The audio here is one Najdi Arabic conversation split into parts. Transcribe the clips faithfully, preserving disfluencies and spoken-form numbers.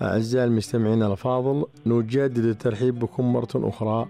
أعزائي المستمعين الأفاضل، نجدد الترحيب بكم مرة أخرى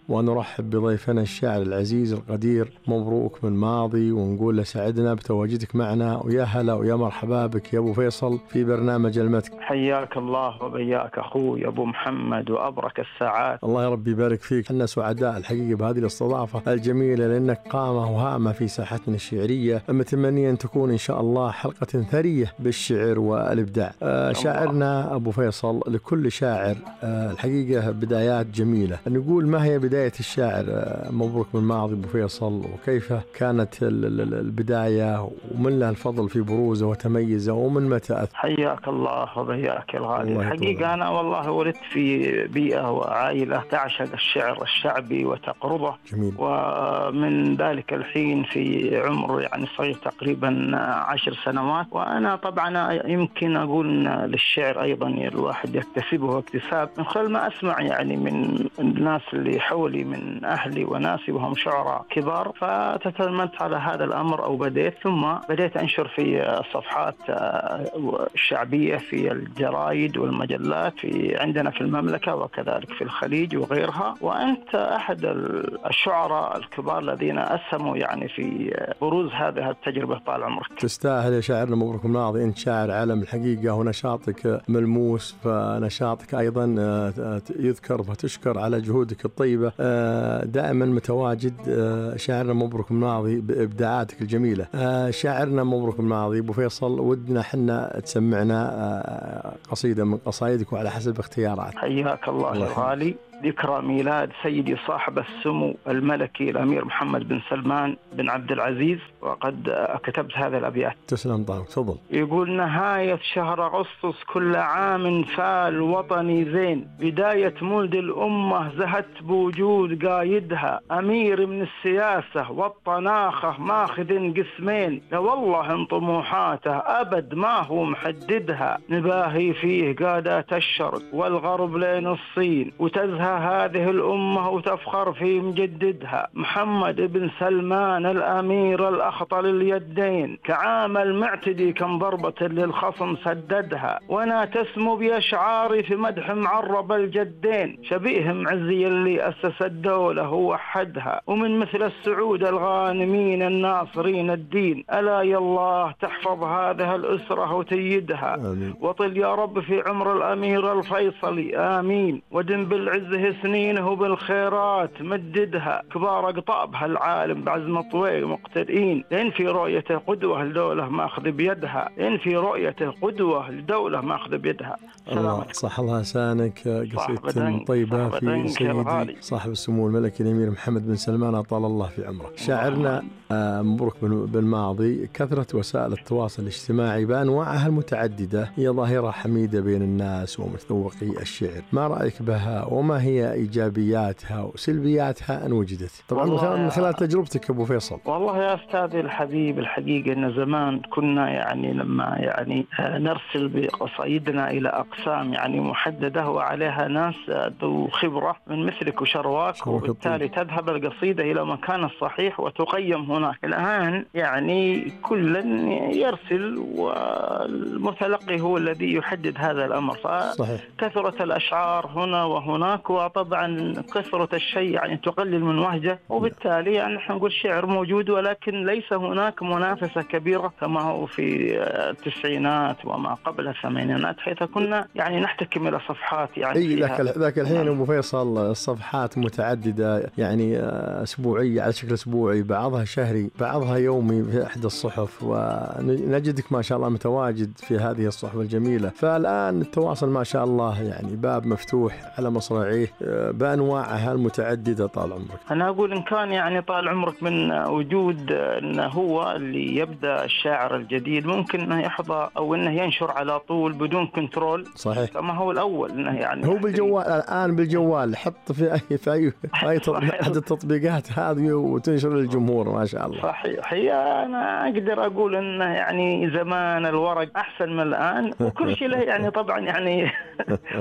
ونرحب بضيفنا الشاعر العزيز القدير مبروك بن ماضي، ونقول له سعدنا بتواجدك معنا، ويا هلا ويا مرحبا بك يا أبو فيصل في برنامج المتك. حياك الله وبياك أخوي أبو محمد وأبرك الساعات. الله يا رب يبارك فيك. احنا سعداء الحقيقة بهذه الاستضافة الجميلة، لأنك قامة وهامة في ساحتنا الشعرية، متمنيا أن تكون إن شاء الله حلقة ثرية بالشعر والإبداع. آه شاعرنا أبو فيصل، لكل شاعر آه الحقيقة بدايات جميلة، نقول ما هي بداية الشاعر مبروك بن ماضي أبو فيصل، وكيف كانت البداية ومن له الفضل في بروزه وتميزه ومن متى أثر؟ حياك الله وبياك الغالي. الحقيقة أنا والله ولدت في بيئة وعائلة تعشق الشعر الشعبي وتقربه. جميل. ومن ذلك الحين في عمر يعني صغير تقريبا عشر سنوات، وأنا طبعا يمكن أقول للشعر أيضا الواحد يكتسبه اكتساب من خلال ما أسمع يعني من الناس اللي حولي من أهلي وناسي وهم شعراء كبار، فتتلمت على هذا الأمر أو بديت ثم بديت أنشر في الصفحات الشعبية في الجرائد والمجلات في عندنا في المملكة وكذلك في الخليج وغيرها. وأنت أحد الشعراء الكبار الذين أسهموا يعني في بروز هذه التجربة طال عمرك. تستاهل يا شاعرنا مبروك بن ماضي، أنت شاعر عالم الحقيقة ونشاطك ملموس، فنشاطك أيضا يذكر فتشكر على جهودك الطيبة، دائما متواجد. شاعرنا مبروك بن ماضي بإبداعاتك الجميلة. شاعرنا مبروك بن ماضي أبو فيصل، ودنا حنا تسمعنا قصيدة من قصائدك وعلى حسب اختيارات. حياك الله الغالي. ذكرى ميلاد سيدي صاحب السمو الملكي الأمير محمد بن سلمان بن عبد العزيز، وقد كتبت هذا الأبيات. تسلم طال، تفضل. يقول: نهاية شهر أغسطس كل عام فال وطني زين، بداية مولد الأمة زهت بوجود قايدها، أمير من السياسة والطناخة ماخذ قسمين، لا والله ان طموحاته أبد ما هو محددها، نباهي فيه قادات الشرق والغرب لين الصين، وتزهى هذه الأمة وتفخر في مجددها، محمد بن سلمان الأمير الأخطل اليدين، كعام المعتدي كم ضربة للخصم سددها، وانا تسمو بأشعاري في مدح معرب الجدين، شبيه معزي اللي أسس الدولة ووحدها، ومن مثل السعود الغانمين الناصرين الدين، ألا يا الله تحفظ هذه الأسرة وتيدها. آمين. وطل يا رب في عمر الأمير الفيصلي، آمين، ودم بالعز سنينه بالخيرات مددها، كبار أقطابها العالم بعزم طويل مقتدئين، لأن في رؤيته قدوة لدولة ماخذ بيدها، لأن في رؤيته قدوة لدولة ماخذ بيدها. الله صح الله لسانك. قصيدة طيبة في سيدي صاحب السمو الملكي الأمير محمد بن سلمان أطال الله في عمره. شاعرنا آه مبروك بن ماضي، كثرة وسائل التواصل الاجتماعي بأنواعها المتعددة هي ظاهرة حميدة بين الناس ومتذوقي الشعر، ما رأيك بها وما هي إيجابياتها وسلبياتها أن وجدت؟ طبعا من خلال تجربتك أبو فيصل. والله يا أستاذي الحبيب، الحقيقة أن زمان كنا يعني لما يعني نرسل بقصائدنا إلى أقسام يعني محددة وعليها ناس ذو خبرة من مثلك وشرواك، وبالتالي تذهب القصيدة إلى مكان الصحيح وتقيم هناك. الآن يعني كل يرسل والمتلقي هو الذي يحدد هذا الأمر، فكثرة الأشعار هنا وهناك، وطبعا كثرة الشيء يعني تقلل من وهجه، وبالتالي يعني نحن نقول الشعر موجود، ولكن ليس هناك منافسة كبيرة كما هو في التسعينات وما قبل الثمانينات، حيث كنا يعني نحتكم إلى صفحات يعني اي ذاك ذاك الحين أبو فيصل الصفحات متعددة، يعني أسبوعية على شكل أسبوعي، بعضها شهري، بعضها يومي في إحدى الصحف، ونجدك ما شاء الله متواجد في هذه الصحف الجميلة. فالآن التواصل ما شاء الله يعني باب مفتوح على مصراعيه بأنواعها المتعددة طال عمرك. أنا أقول إن كان يعني طال عمرك من وجود أنه هو اللي يبدأ الشاعر الجديد ممكن أنه يحظى أو أنه ينشر على طول بدون كنترول. صحيح. كما هو الأول أنه يعني هو بالجوال الآن، بالجوال حط في أي في أي, في أي أحد التطبيقات هذه وتنشر للجمهور ما شاء شاء الله. صحيح. هي أنا أقدر أقول أنه يعني زمان الورق أحسن من الآن، وكل شيء له يعني طبعا يعني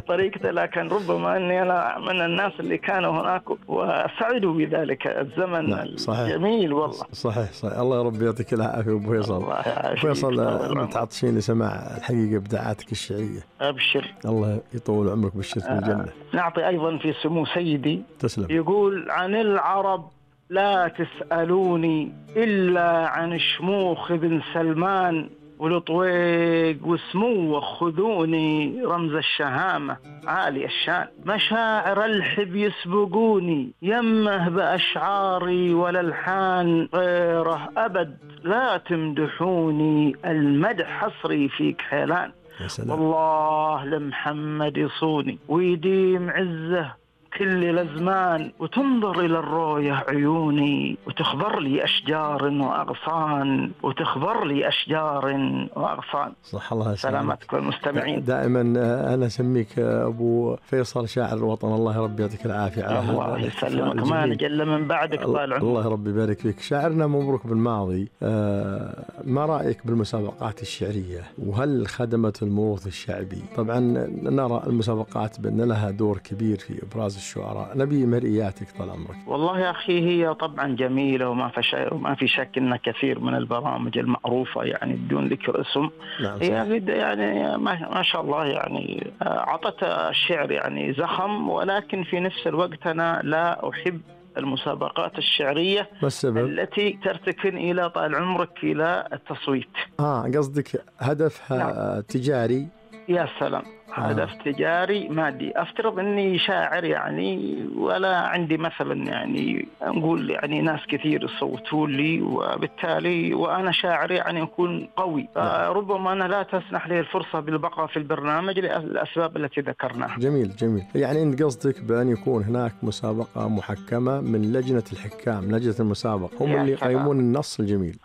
طريقته، لكن ربما أني أنا من الناس اللي كانوا هناك وسعدوا بذلك الزمن. نعم. الجميل والله. صحيح صحيح. الله يا رب يعطيك العافية أبو فيصل. فيصل متعطشين نسمع الحقيقة إبداعاتك الشعرية. أبشر. الله يطول عمرك بالشرف في الجنة. آه. نعطي أيضا في سمو سيدي. تسلم. يقول عن العرب لا تسألوني إلا عن شموخ بن سلمان ولطويق وسمو خذوني رمز الشهامة عالي الشان، مشاعر الحب يسبقوني يمه بأشعاري والألحان غيره أبد لا تمدحوني المدح حصري فيك حيلان، والله لمحمد يصوني ويديم عزه كل الأزمان وتنظر إلى الرؤية عيوني وتخبر لي أشجار وأغصان وتخبر لي أشجار وأغصان. صح الله يسلمك. سلامتكم المستمعين. دائما أنا أسميك أبو فيصل شاعر الوطن. الله يا رب يعطيك العافية. الله يسلمك، ما نجل من بعدك طال عمرك. الله يا رب يبارك فيك. شاعرنا مبروك بالماضي، آه ما رأيك بالمسابقات الشعرية وهل خدمت الموروث الشعبي؟ طبعا نرى المسابقات بأن لها دور كبير في إبراز الشعراء، نبي مرئياتك طال عمرك. والله يا أخي هي طبعا جميلة وما في شيء وما في شك أن كثير من البرامج المعروفة يعني بدون ذكر اسم. نعم. هي يعني ما شاء الله يعني عطت الشعر يعني زخم، ولكن في نفس الوقت أنا لا أحب المسابقات الشعرية التي ترتكن إلى طال عمرك إلى التصويت. آه قصدك هدفها نعم. تجاري. يا سلام. هدف آه. تجاري مادي. أفترض أني شاعر يعني ولا عندي مثلا يعني نقول يعني ناس كثير يصوتوا لي، وبالتالي وأنا شاعر يعني أكون قوي، آه. ربما أنا لا تسنح لي الفرصة بالبقاء في البرنامج للأسباب التي ذكرناها. جميل جميل. يعني أنت قصدك بأن يكون هناك مسابقة محكمة من لجنة الحكام، لجنة المسابقة هم اللي يقيمون النص الجميل.